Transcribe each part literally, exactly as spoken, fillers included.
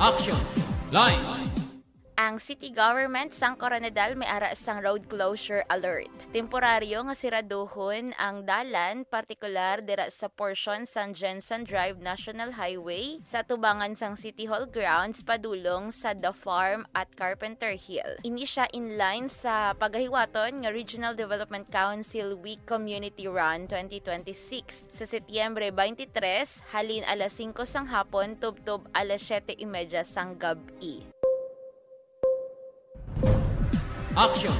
Action Line. Ang city government sang Koronadal may ara sang road closure alert. Temporaryo nga siraduhon ang dalan, partikular dira sa porsyon sang Jensen Drive National Highway, sa tubangan sang City Hall grounds padulong sa The Farm at Carpenter Hill. Ini sia in line sa pagahiwaton nga Regional Development Council Week Community Run twenty twenty-six sa Setyembre twenty-three, halin alas singko sang hapon tubtob alas siyete y media sang gab-i. Action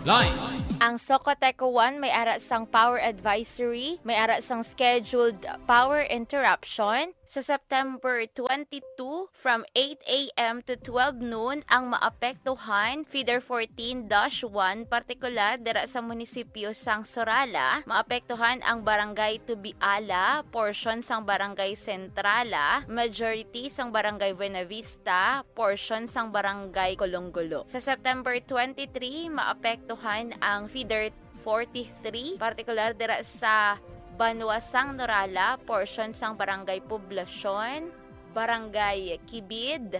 Line. Ang Socoteco one may ara sang power advisory, may ara sang scheduled power interruption sa September twenty-two from eight a m to twelve noon. Ang maapektuhan, feeder fourteen dash one, partikular dira sa munisipyo sang Sorala, maapektuhan ang Barangay Tubiala, porsyon sang Barangay Centrala, majority sang Barangay Buenavista, porsyon sang Barangay Colongulo. Sa September twenty-three, maapektuhan ang feeder forty-three, partikular dira sa banwa sang Norala, porsyon sang Barangay Poblacion, Barangay Kibid,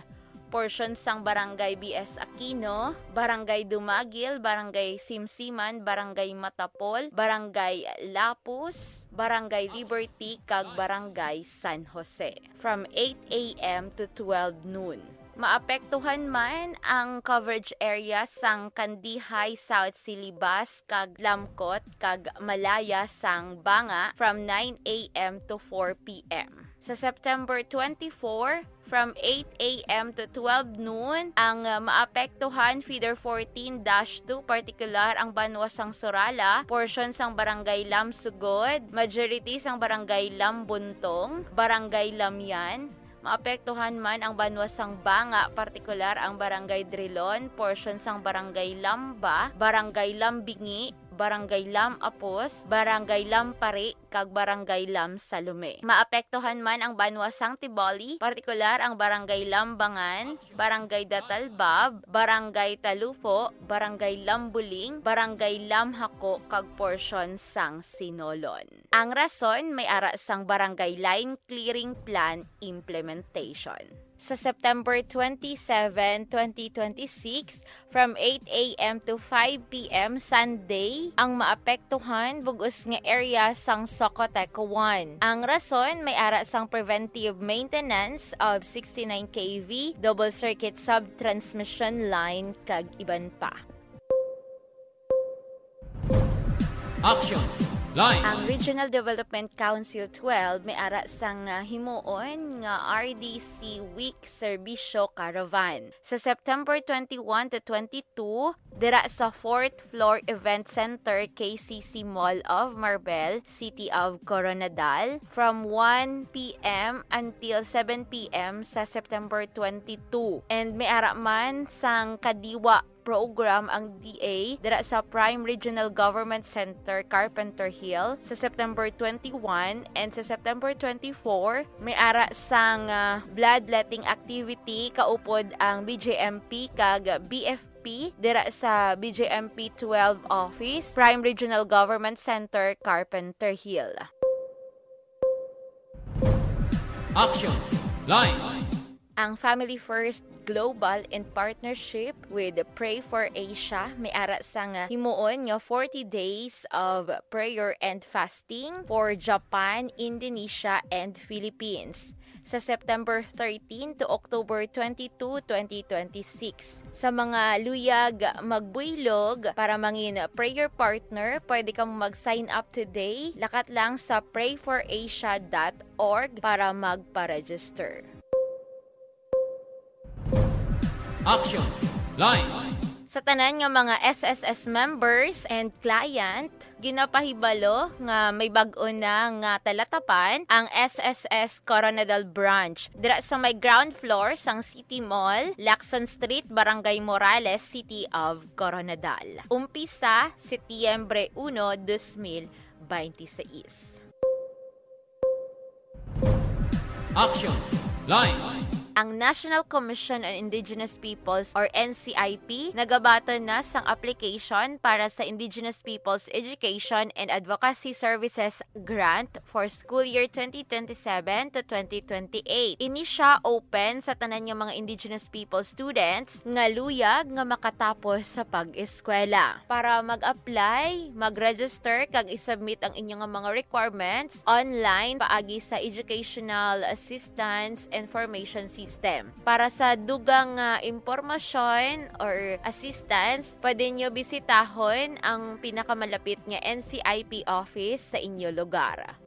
porsyon sang Barangay B S Aquino, Barangay Dumagil, Barangay Simsiman, Barangay Matapol, Barangay Lapus, Barangay Liberty, kag Barangay San Jose from eight a m to twelve noon. Maapektuhan man ang coverage area sang Kandihay, South Silibas, kag Lamcot, kag Malaya sang Banga from nine a m to four p m. Sa September twenty-four, from eight a m to twelve noon, ang, uh, maapektuhan feeder fourteen dash two, partikular ang banwa sang Sorala, porsyon sang Barangay Lamsugod, majority sang Barangay Lambuntong, Barangay Lamyan, maapektuhan man ang banwa sang Banga, partikular ang Barangay Drilon, porsyon sang Barangay Lamba, Barangay Lambingi, Barangay Lam Apos, Barangay Lampari, kag Barangay Lam Salome. Maapektuhan man ang banwa sang Tiboli, partikular ang Barangay Lambangan, Barangay Datalbab, Barangay Talupo, Barangay Lambuling, Barangay Lamhako, kag porsyon sang Sinolon. Ang rason may ara sang Barangay Line Clearing Plan implementation. Sa September twenty-seven, twenty twenty-six, from eight a m to five p m Sunday, ang maapektuhan bug-os nga area sang Socoteco one. Ang rason may ara sang preventive maintenance of sixty-nine K V double circuit sub-transmission line kag iban pa. Action Line. Ang Regional Development Council twelve may ara sang, ah, himuon nga R D C Week Serbisyo Caravan sa September twenty-one to twenty-two dira sa fourth floor Event Center, K C C Mall of Marbel, City of Koronadal, from one p m until seven p m sa September twenty-two. And may ara man sang Kadiwa program ang D A dira sa Prime Regional Government Center, Carpenter Hill, sa September twenty-one, and sa September twenty-four, may ara sang, ah, bloodletting activity kaupod ang B J M P kag B F P dira sa B J M P twelve office, Prime Regional Government Center, Carpenter Hill. Action Line. Ang Family First Global in partnership with Pray for Asia may ara sang himuon nga forty days of prayer and fasting for Japan, Indonesia, and Philippines sa September thirteen to October twenty-two, twenty twenty-six. Sa mga luyag magbuylog para mangin prayer partner, pwede kamo mag-sign up today. Lakat lang sa pray for asia dot org para magpa-register. Action Line. Sa tanan nga mga S S S members and client, ginapahibalo nga may bag-o na nga talatapan ang S S S Koronadal Branch dira sa may ground floor sang City Mall, Lacson Street, Barangay Morales, City of Koronadal. Umpisa, Setyembre uno, dos mil beintiseis. Action Line. Ang National Commission on Indigenous Peoples or N C I P nagabaton na sang application para sa Indigenous Peoples Education and Advocacy Services Grant for school year twenty twenty-seven to twenty twenty-eight. Ini sia open sa tanan nga mga Indigenous Peoples students nga luyag nga makatapos sa pag-eskwela. Para mag-apply, mag-register kag i-submit ang inyo nga mga requirements online paagi sa Educational Assistance Information System. Para sa dugang nga impormasyon or assistance, pwede nyo bisitahon ang pinakamalapit nga N C I P office sa inyo lugar.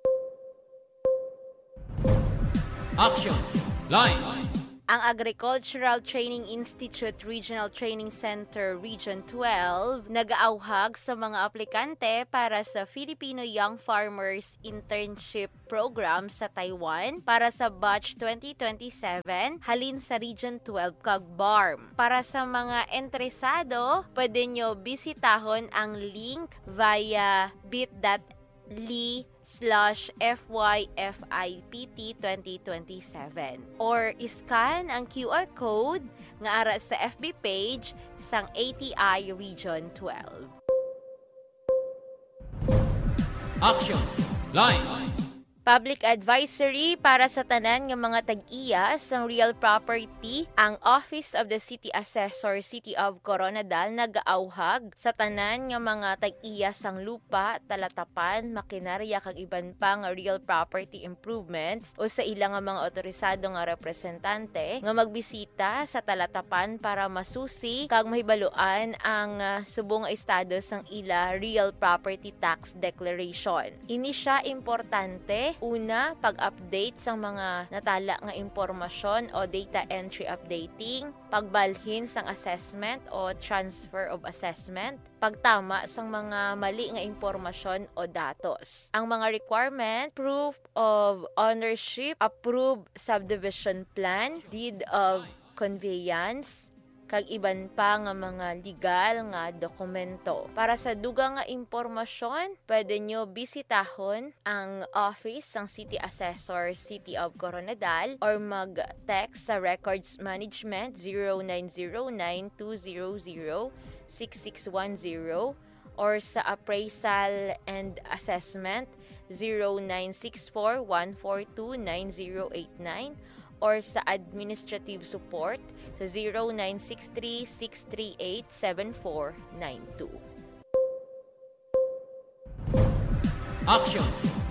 Action! Line! Ang Agricultural Training Institute Regional Training Center Region twelve nagaawhag sa mga aplikante para sa Filipino Young Farmers Internship Program sa Taiwan para sa batch twenty twenty-seven halin sa Region twelve kag BARMM. Para sa mga interesado, pwede nyo bisitahon ang link via bit.ly slash F Y F I P T twenty twenty-seven or i-scan ang Q R code nga ara sa F B page sang A T I Region twelve. Action! Line! Public advisory para sa tanan nga mga tag-iya sang real property, ang Office of the City Assessor, City of Koronadal, nagaawhag sa tanan nga mga tag-iya sang lupa, talatapan, makinarya, kag iban pa nga real property improvements o sa ila nga mga otorisado nga representante nga magbisita sa talatapan para masusi kag mahibaluan ang, ah, subong nga estado sang ila real property tax declaration. Ini sia importante, una, pag-update sang mga natala nga impormasyon o data entry updating, pagbalhin sang assessment o transfer of assessment, pagtama sang mga mali nga impormasyon o datos. Ang mga requirement, proof of ownership, approved subdivision plan, deed of conveyance, kag iban pa nga mga legal nga dokumento. Para sa dugang nga impormasyon, pwede nyo bisitahon ang office sang City Assessor, City of Koronadal, or mag-text sa Records Management zero nine zero nine two zero zero six six one zero, or sa Appraisal and Assessment zero nine six four one four two nine zero eight nine, or sa Administrative Support sa zero nine six three six three eight seven four nine two. Action!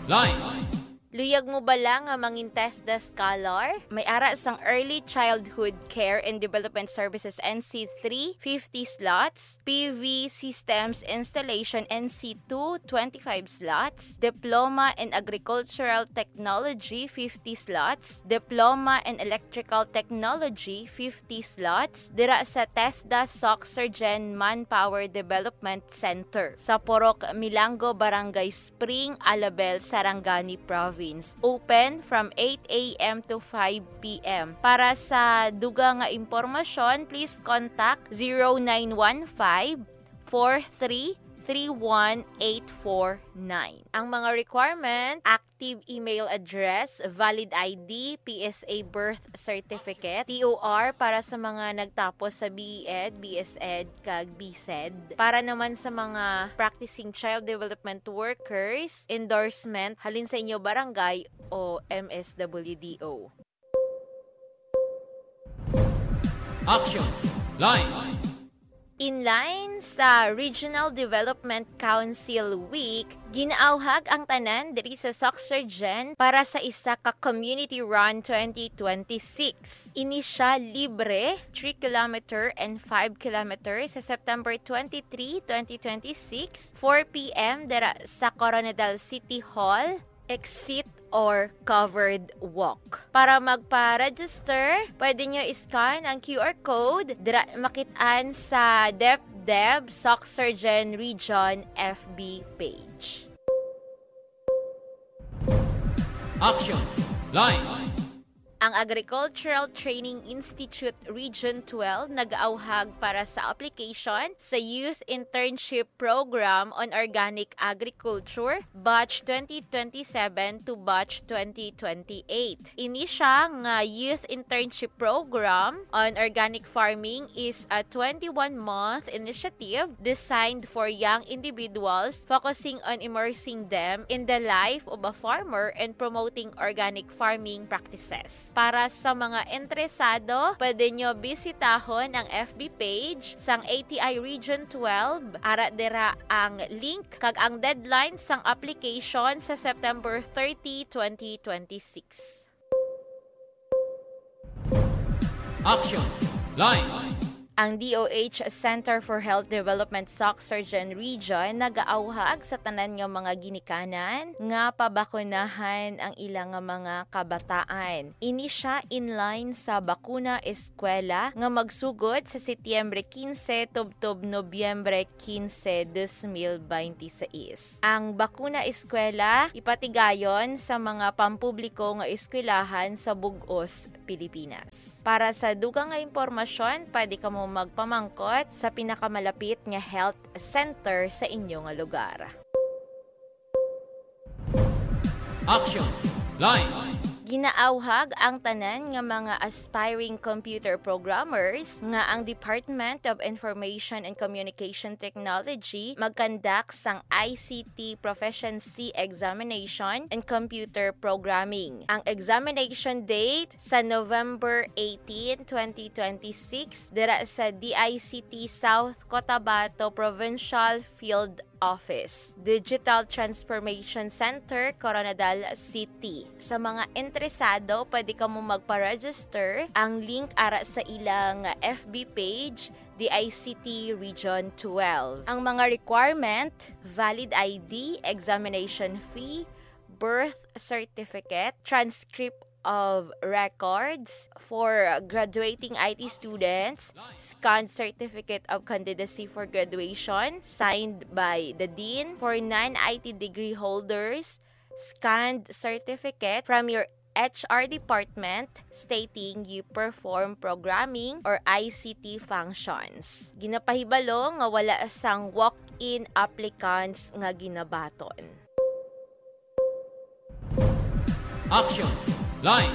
Line! Luyag mo bala nga mangin TESDA Scholar? May ara sang Early Childhood Care and Development Services N C three, fifty slots, P V Systems Installation N C two, twenty-five slots, Diploma in Agricultural Technology, fifty slots, Diploma in Electrical Technology, fifty slots, dira sa TESDA Soxergen Manpower Development Center sa Purok Milango, Barangay Spring, Alabel, Sarangani Province. Open from eight A M to five P M. Para sa dugang nga impormasyon, please contact zero nine one five, four three three one eight four nine. Ang mga requirement, active email address, valid I D, P S A birth certificate, T O R para sa mga nagtapos sa B E Ed, B S Ed, kag B Sed. Para naman sa mga practicing child development workers, endorsement halin sa inyo barangay o M S W D O. Action! Line! In line sa Regional Development Council Week, ginaawhag ang tanan diri sa Soxergen para sa isa ka Community Run twenty twenty-six. Ini sia libre, three kilometer and five kilometer sa September twenty-three, twenty twenty-six, four P M dira sa Koronadal City Hall, exit or covered walk. Para magpa-register, pwede nyo i-scan ang Q R code dira makit-an sa DepDev Soxergen Region F B page. Action! Line! Ang Agricultural Training Institute Region twelve nag-auhag para sa application sa Youth Internship Program on Organic Agriculture, Batch twenty twenty-seven to Batch twenty twenty-eight. Ini siya nga Youth Internship Program on Organic Farming is a twenty-one-month initiative designed for young individuals, focusing on immersing them in the life of a farmer and promoting organic farming practices. Para sa mga interesado, pwede nyo bisitahon ang F B page sang A T I Region twelve. Ara dira ang link kag ang deadline sang application sa September thirty, twenty twenty-six. Action Line. Ang D O H Center for Health Development Soc-Surgen Region nagaawhag sa tanan nga mga ginikanan nga pabakunahan ang ilang nga mga kabataan. Ini siya in line sa Bakuna Eskwela nga magsugod sa Setyembre quince tubtob Nobyembre quince, dos mil binte seis. Ang Bakuna Eskwela ipatigayon sa mga pampubliko nga eskwelahan sa bug-os Pilipinas. Para sa dugang nga impormasyon, pwede kamo magpamangkot sa pinakamalapit nga health center sa inyo nga lugar. Action Line. Ginaawhag ang tanan nga mga aspiring computer programmers nga ang Department of Information and Communication Technology magkandak sang I C T Proficiency Examination and Computer Programming. Ang examination date sa November eighteen, twenty twenty-six, dira sa D I C T South Cotabato Provincial Field Office, Digital Transformation Center, Koronadal City. Sa mga interesado, pwede kamo magpa-register. Ang link ara sa ilang F B page, D I C T Region twelve. Ang mga requirement, valid I D, examination fee, birth certificate, transcript of records for graduating I T students, scanned certificate of candidacy for graduation signed by the dean for non-I T degree holders, scanned certificate from your H R department stating you perform programming or I C T functions. Ginapahibalo nga wala sang walk-in applicants nga ginabaton. Action Line.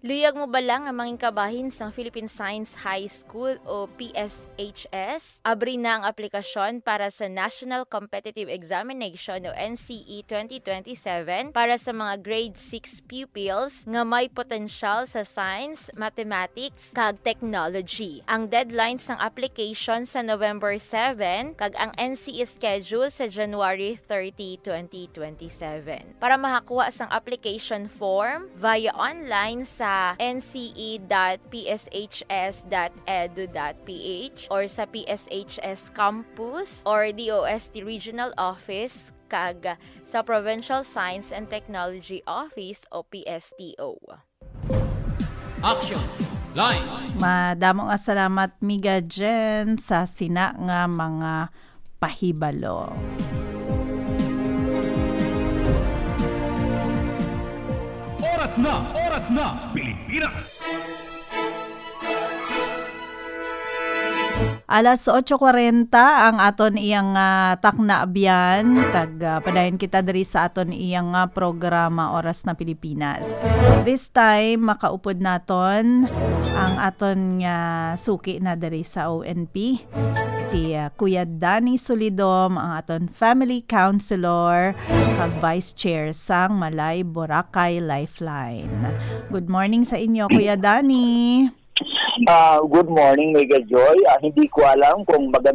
Luyag mo bala nga mangin kabahin sang Philippine Science High School o P S H S? Abri na ang aplikasyon para sa National Competitive Examination o N C E twenty twenty-seven para sa mga grade six pupils nga may potensyal sa science, mathematics, kag technology. Ang deadline sang application sa November seven, kag ang N C E schedule sa January thirty, twenty twenty-seven. Para makakuha sang application form via online sa N C E dot P S H S dot edu dot P H or sa P S H S Campus or D O S T Regional Office kag sa Provincial Science and Technology Office o P S T O. Action Line. Madamo nga salamat, Miga Jen, sa sina nga mga pahibalo. Oras na, oras na, Pilipinas. Alas otso kwarenta ang aton iyang, ah, takna abyan, kag, ah, padayon kita diri sa aton iyang, ah, programa Oras na Pilipinas. This time, makaupod naton ang aton nga suki na diri sa O N P, si, ah, Kuya Danny Solidom, ang aton family counselor kag vice chair sang Malay Boracay Lifeline. Good morning sa inyo, Kuya Danny. Ah, good morning, Mega Joy. Ah, hindi ko alam kung maganda